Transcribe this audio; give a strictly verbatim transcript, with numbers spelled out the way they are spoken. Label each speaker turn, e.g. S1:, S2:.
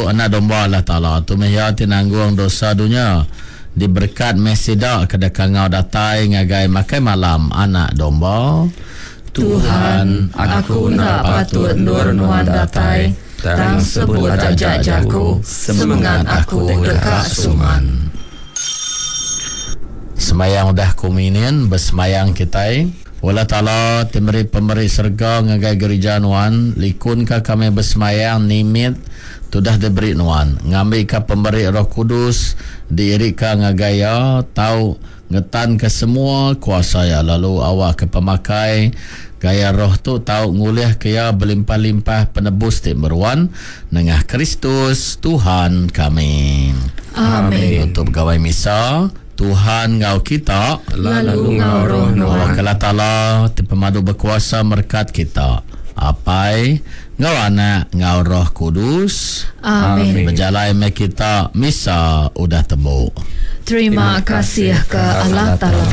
S1: Anak Domba Allah Taala. Tu meh iya ti nanggung dosa dunya. Diberekat meh sida ke dikangau datai ngagai makai malam Anak Domba.
S2: Tuhan, aku enda patut endur Nuan datai, tang sebut aja jaku, semengat aku deka suman.
S1: Semayang udah kommunion, besemayang kitai. Allah Taala ti meri pemeri serega ngagai gerija Nuan, likunka kami besemayang nimit tudah diberi Nuan, ngambika pemeri Roh Kudus diirika ngagai iya tau ngetanka semua kuasa iya, lalu awakka pemakai gaya roh tu tau ngulihka iya belimpah-limpah penebus ti meruan nengah Kristus Tuhan kami.
S2: Amin.
S1: Untuk pegawai misa, Tuhan ngau kita,
S2: lalu ngau roh Nuan.
S1: Allah Taala ti pemadu berkuasa merekat kita, Apai, ngau Anak, ngau Roh Kudus.
S2: Amin.
S1: Berjalai me kita misa udah temu.
S2: Terima kasih ke Allah Taala.